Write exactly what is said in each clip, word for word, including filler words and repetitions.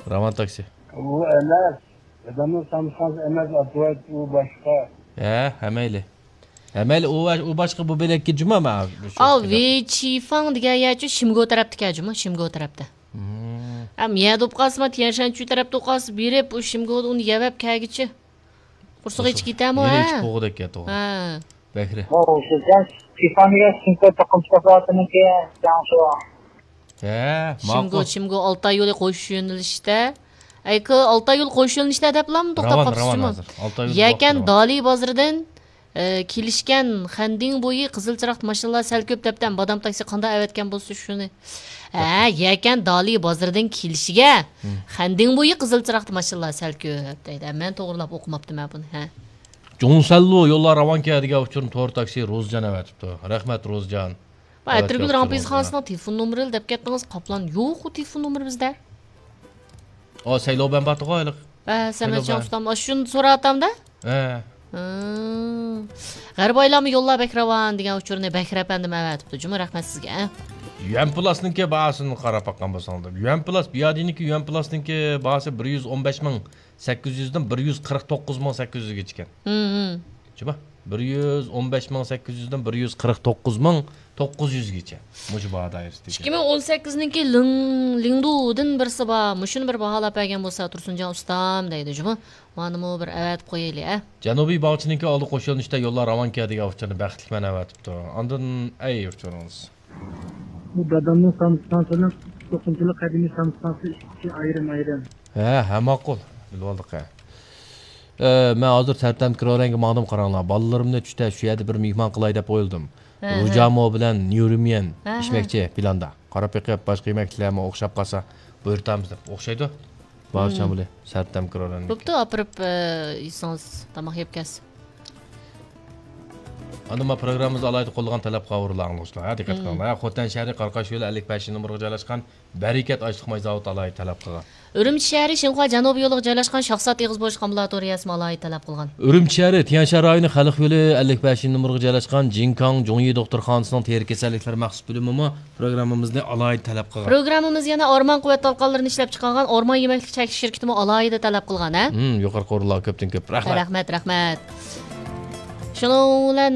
راۋان تاكسى. ئۇ ئەمەس. دادامنىڭ سامسىخانىسى ئەمەس، ئاتىۋەت ئۇ باشقا. ھە، ھەمەيلى. ھەمەيلى ئۇ، ئۇ باشقا، بۇ بۆلەككە جۇما ما. ئا، ۋېيچىفاڭ دېگەن يەرچۇ شىمگو تەرەپتىكەن جۇما، شىمگو تەرەپتە. ھەم يەردە بولۇپ قالسىمۇ، تيەنشانچۈ تەرەپتە بولۇپ قالسا، بېرىپ ئۇ شىمگودا ئۇنى يەۋەپ كەلگۈچە. قورسىقى ئېچىپ كېتەمۇ، ھە؟ ئېچىپ بولغۇدەك يا، توغرا. ھە. بەكرى. ئۇ شىزەن شىفانىگە شىنكو توقۇمىچى تەپەۋاتىمىكى، جاڭشۇ. ھە، شىمگو، ماقۇل. شىمگو ئالتاي يولى قوشۇش يۆنىلىشتە. ئەيكى، ئالتاي يول قوشۇش يۆنىلىشتە دەپلام توختاپ راۋان، قاپسىز راۋان جۇمۇ. ھازىر. ئالتاي يول يەكەن ۋاقتى راۋان. دالى بازىرىدىن، ئە، كېلىشكەن خەندىڭ بويى قىزىل چىراغ ماشىنىلار سەل كۆپ دەپتەم. بادام تاكسى قانداق ئەۋەتكەن بولسا شۇنى. ھە، يەكەن دالى بازىرىدىن كېلىشىگە خەندىڭ بويى قىزىل چىراغ ماشىنىلار سەل كۆپ دەيدۇ. مەن توغرىلاپ ئوقۇماپتىمەن بۇنى، ھە. جۇڭسەنلۇ يوللار راۋانكەن دېگەن ئۇچۇرنى تور تاكسى روزىجان ئەۋەتىپتۇ. رەھمەت، روزىجان. ئەتىرگۈل رامپىز خانىسىنىڭ تېلېفون نومۇرى دەپ كەتتىڭىز، قاپلان. يوق، ئۇ تېلېفون نومۇرى بىزدە. ئا، سەيلو بەن باتىغۇ ھېلىقى. ھە، سەمەتجان ئۇستام، ئاشۇنى سوراۋاتامدا؟ ھە. غەربايلارمۇ يوللار بەك راۋان دېگەن ئۇچۇرنى بەكرى ئەپەندىم ئەۋەتىپتۇ. جۇمۇ، رەھمەت سىزگە. يۈەن پلاسنىڭكى باھاسىنى قاراپ باققان بولساڭلار. يۈەن پلاس، بىيادىنىڭكى يۈەن پلاسنىڭكى باھاسى بىر يۈز ئون بەش مىڭ سەككىز يۈزدىن بىر يۈز قىرىق توققۇز مىڭ سەككىز يۈزگىچىكەن. جۇمۇ، بىر يۈز ئون بەش مىڭ سەككىز يۈزدىن بىر يۈز قىرىق توققۇز مىڭ توققۇز يۈزگىچە. مۇشۇ باھا دائىرىسىدىكى. ئىككى مىڭ ئون سەككىزنىڭكى لىڭ، لىڭدۇدىن بىرسى بار. مۇشۇنى بىر باھالاپ بەرگەن بولسا تۇرسۇنجان ئۇستام دەيدۇ جۇمۇ. مانىمۇ بىر ئەۋەتىپ قويايلى، ھە. جەنۇبىي باغچىنىڭكى ئالدى قوش يۆنىلىشتە يوللار راۋانكەن دېگەن ئۇچۇرنى بەختلىك مەن ئەۋەتىپتۇ. ئاندىن ئەي ئۇچۇرىڭىز. بۇ دادامنىڭ سامسىخانىسىنىڭ توقۇمىچىلىق قەدىمىي سامسىخانىسى ئىككى ئايرىم ئايرىم. ھە، ھە، ماقۇل. بىلىۋالدۇق، ھە. ئە، مەن ھازىر سەرتەم كىرورەنگە ماڭدىم، قاراڭلار. بالىلىرىمنى چۈشتە شۇ يەردە بىر مېھمان قىلاي دەپ ئويلىدىم. ھە، ھە. روجامو بىلەن نيۇرىميەن ھە، ھە. ئىچمەكچى پىلاندا. قاراپ بېقىپ، باشقا يېمەكلىكلەرمۇ ئوخشاپ قالسا بۇيرۇتامىز دەپ. ئوخشايدۇ. بارچە بولى، سەرتەم كىرورەنگە. بوپتۇ، ئاپىرىپ، ئە، يېسىڭىز، تاماق يەپ كەلسە. ئاندىن ما پروگراممىمىزدا ئالاھىدە قوللىغان تەلەپ قاۋۇرۇلار ئاڭلىغۇچىلار. ھە، دىققەت قىلىڭلار. ھە، خوتەن شەھىرى قاراقاش يولى ئەللىك بەشىنچى نومۇرغا جايلاشقان بەرىكەت ئاشلىق ماي زاۋۇتى ئالاھىدە تەلەپ قىلغان. ئۈرۈمچى شەھىرى شىنخۇا جەنۇبىي يولىغا جايلاشقان شاخسات ئېغىز بوشلۇق ئامبۇلاتورىيەسىمۇ ئالاھىدە تەلەپ قىلغان. ئۈرۈمچى شەھىرى تيەنشان رايونى خەلق يولى ئەللىك بەشىنچى نومۇرغا جايلاشقان جىنكاڭ جۇڭيى دوختۇرخانىسىنىڭ تېرە كېسەللىكلىرى مەخسۇس بۆلۈمىمۇ پروگراممىمىزنى ئالاھىدە تەلەپ قىلغان. پروگراممىمىز يەنە ئورمان قۇۋۋەت تالقانلىرىنى ئىشلەپچىقارغان ئورمان يېمەكلىك چەكلىك شىركىتىمۇ ئالاھىدە تەلەپ قىلغان، ھە؟ ھىم، يۇقىرىقى ئورۇنلارغا كۆپتىن كۆپ رەھمەت. رەھمەت، رەھمەت. شۇنىڭ بىلەن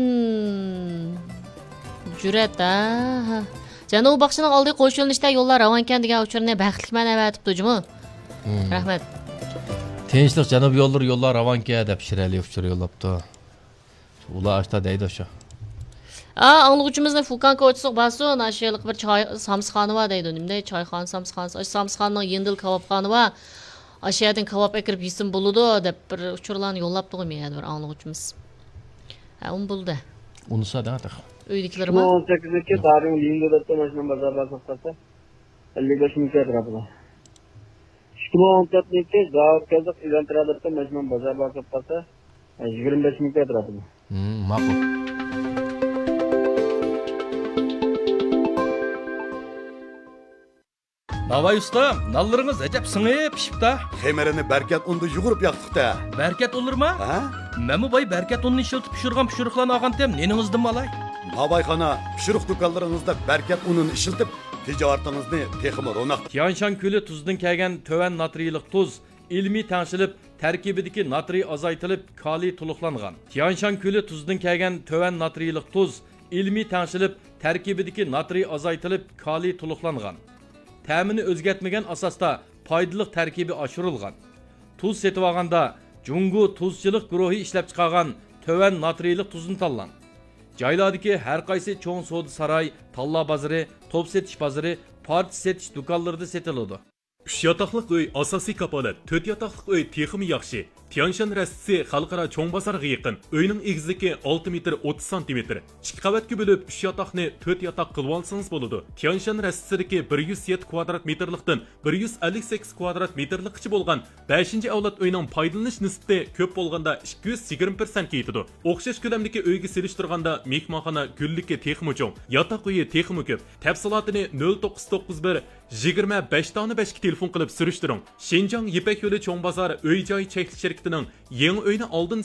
جۈرئەت، ھە، ھە. جەنۇبىي باغچىنىڭ ئالدى قوش يۆنىلىشتە يوللار راۋانكەن دېگەن ئۇچۇرنى بەختلىك مەن ئەۋەتىپتۇ جۇمۇ. ھىم. رەھمەت. تىنچلىق جەنۇبىي يوللىرى يوللار راۋانكەن دەپ شىرئەلى ئۇچۇر يوللاپتۇ. ئۇلار ئاشتا دەيدۇ شۇ. ئا، ئاڭلىغۇچىمىزنى فۇكان كوچىسىغا بارسۇن، ئاشۇ ھېلىقى بىر چاي، سامسىخانا بار دەيدۇ. نېمە دەيدۇ؟ چايخانا، سامسىخانا. ئاشۇ سامسىخانىنىڭ يېنىدىلا كاۋاپخانا بار. ئاشۇ يەردىن كاۋاپ ئەكىرىپ يېسىمۇ بولىدۇ، دەپ بىر ئۇچۇرلارنى يوللاپتىغۇ مەن يەنە بىر ئاڭلىغۇچىمىز. ھە، ئۇمۇ بولدى. ئۇنىسا دەڭ تېخى. ئۆيدىكىلىرىمۇ؟ ئىككى مىڭ ئون سەككىزىنچى دارىڭ لىڭدۇ دەپتۇ، ماشىنا بازار بار توختاتسا. ئەللىك بەش مىڭ كىلو ئەتراپىدا. ئىككى مىڭ ئون تۆتىنچى زاۋۇت كەزدۇق ئىلانتىرا دەپتۇ، ماشىنا بازار بار توختاتسا. يىگىرمە بەش مىڭ كىلو ئەتراپىدا. ھىم، ماقۇل. ناۋاي ئۇستام، نانلىرىڭىز ئەجەب سىڭىپ پىشىپتا. خېمىرىنى بەركەت ئۇندا يۇغۇرۇپ ياقتۇق-تە. بەركەت ئۇنلىرىما؟ ھە؟ مەنمۇ باي بەركەت ئۇنىنى ئىشلىتىپ پىشۇرغان پىشۇرۇقلارنى ئالغانتىم، نېنىڭىزدىنمۇ ئالاي. ناۋايخانا، پىشۇرۇق دۇكانلىرىڭىزدا بەركەت ئۇنىنى ئىشلىتىپ، تىجارىتىڭىزنى تېخىمۇ روناق. تيانشان كۆلى تۇزىدىن كەلگەن تۆۋەن ناترىيلىق تۇز ئىلمىي تەڭشىلىپ، تەركىبىدىكى ناترىي ئازايتىلىپ، كالىي تولۇقلانغان. تيانشان كۆلى تۇزىدىن كەلگەن تۆۋەن ناترىيلىق تۇز ئىلمىي تەڭشىلىپ، تەركىبىدىكى ناترىي ئازايتىلىپ، كالىي تولۇقلانغان. تەمىنى ئۆزگەرتمىگەن ئاساستا پايدىلىق تەركىبى ئاشۇرۇلغان. تۇز سېتىۋالغاندا جۇڭگو تۇزچىلىق گۇرۇھى ئىشلەپچىقارغان تۆۋەن ناترىيلىق تۇزنى تاللاڭ. جايلاردىكى ھەر قايسى چوڭ سودا ساراي، تاللا بازىرى، توپ سېتىش بازىرى، پارچە سېتىش دۇكانلىرىدا سېتىلىدۇ. ئۈچ ياتاقلىق ئۆي ئاساسىي كاپالەت، تۆت ياتاقلىق ئۆي تېخىمۇ ياخشى. تيانشان رەستىسى خەلقئارا چوڭ بازارغا يېقىن. ئۆينىڭ ئېگىزلىكى ئالتە مېتىر ئوتتۇز سانتىمېتىر. ئىككى قەۋەتكە بۆلۈپ، ئۈچ ياتاقنى تۆت ياتاق قىلىۋالسىڭىز بولىدۇ. تيانشان رەستىسىدىكى بىر يۈز يەتتە كۋادرات مېتىرلىقتىن بىر يۈز ئەللىك سەككىز كۋادرات مېتىرلىققىچە بولغان بەشىنچى ئەۋلاد ئۆينىڭ پايدىلىنىش نىسبىتى كۆپ بولغاندا ئىككى يۈز يىگىرمە پىرسەنتكە يېتىدۇ. ئوخشاش كۆلەمدىكى ئۆيگە سېلىشتۇرغاندا مېھمانخانا گۈللۈكى تېخىمۇ چوڭ، ياتاق ئۆيى تېخىمۇ كۆپ. تەپسىلاتىنى نۆل توققۇز توققۇز بىر، يىگىرمە بەش دانە بەشكە تېلېفون قىلىپ سۈرۈشتۈرۈڭ. شىنجاڭ يىپەك يولى چوڭ بازار ئۆي جاي چەكلىك شىركىتىنىڭ يېڭى ئۆينى ئالدىن